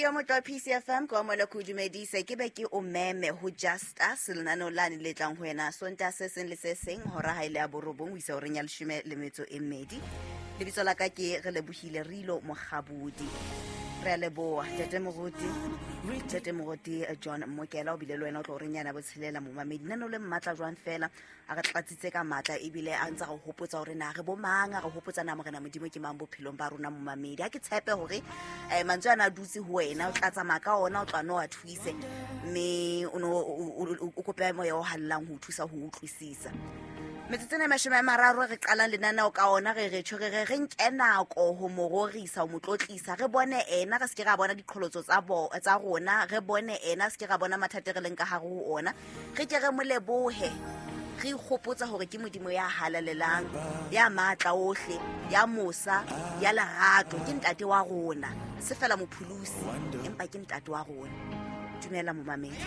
Momamedi wa motlo wa PCFM, ke wa moela ke o dumedise, ke be ke o meme ho Just Us, lenaneo lane le tlang ho wena Sontaha se seng le se seng hora ha e le ya borobong ho isa horeng ya leshome le metso e mmedi. Lebitso la ka ke re lebohile Rilo Mokgabodi. Re a leboha Ntate Moruti, Ntate Moruti John Mokela o bile le wena o tlo horeng yana botshelela. Momamedi, lenaneo le mmatla jwang fela a re tlatsitse ka matla ebile a ntse re hopotsa hore na re bo mang, a re hopotsa na Morena Modimo ke mang bophelong ba rona. Momamedi, ha ke tshepe hore mantswe ana a dutse ho wena, o tla tsamaya ka ona, o tla no a thuise mme o no o kope moya o hallang ho o thusa ho utlwisisa. Metsotso ena e 30 re qalang lenaneo ka ona, re re tjho re re re nke nako ho mo rorisa, ho mo tlotlisa, re bone ena, re se ke ra bona diqholotso tsa bo tsa rona, re bone ena, se ke ra bona mathata e re leng ka hare ho ona, re ke re mo lebohe, re ikgopotsa hore ke Modimo ya halalelang, ya matla ohle, ya mosa, ya lerato, ke ntate wa rona, se fela mopholosi, empa ke ntate wa rona. Dumela momamedi.